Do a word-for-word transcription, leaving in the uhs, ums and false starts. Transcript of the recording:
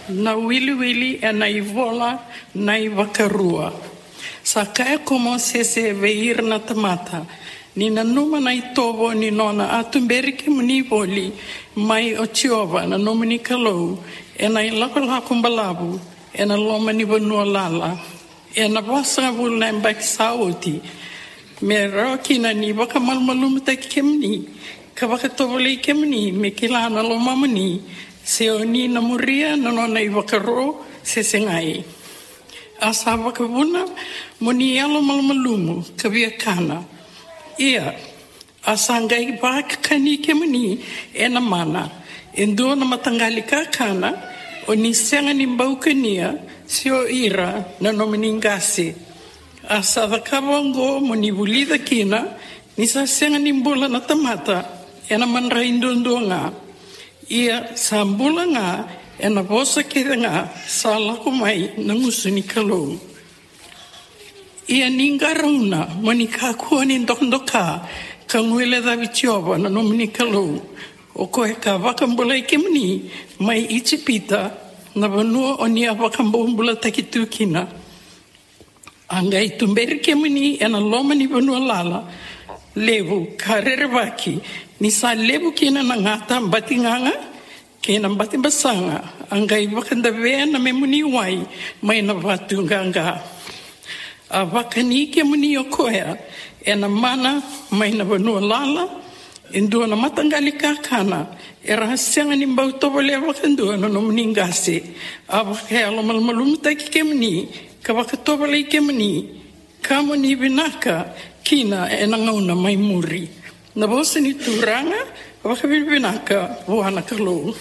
Na wiliwili ena ivola na iVakarua. Sa kaya ko Mosese vei ira na tamata, ni nanuma na itovo ni nona a tuberi kemuni voli mai o Jiova na nomuni Kalou ena ilakolako balavu ena loma ni vanua lala, ena vasagavulu na yabaki sa oti, me rawa kina ni vakamalumalumutaki kemuni ka vakatovolei kemuni me kila na lomamuni, se o ni na muria na nona ivakaro se segai. A sa vakavuna mo ni yalomalumalumu ka via kana. Ia, a sa qai vakani kemuni ena mana e dua na mataqali kakana, o ni sega ni bau kania, se o ira na nomuni qase. A sa cakava oqo mo ni vulica kina ni sa sega ni bula na tamata ena madrai duadua ga, ia sa bula ga ena vosa kece ga sa lako mai na gusu ni Kalou. Ia ni qarauna mo ni kakua ni dokadoka ka guilecavi Jiova na nomuni Kalou, o koya ka vakabulai kemuni mai Ijipita, na vanua o ni a vakabobulataki tu kina. A qai tuberi kemuni ena loma ni vanua lala levu ka rerevaki, ni sa levu kina na gata batigaga kei na batibasaga. A qai vakadavea na memuni wai mai na vatu qaqa. A vakani kemuni o koya ena mana mai na vanua lala, e dua na mataqali kakana, era a sega ni bau tovolea vakadua na nomuni qase. A vakayalomalumalumutaki kemuni ka vakatovolei kemuni, ka mo ni vinaka kina ena gauna mai muri. Na vosa ni Turaga. Vakavinavinaka vua na Kalou.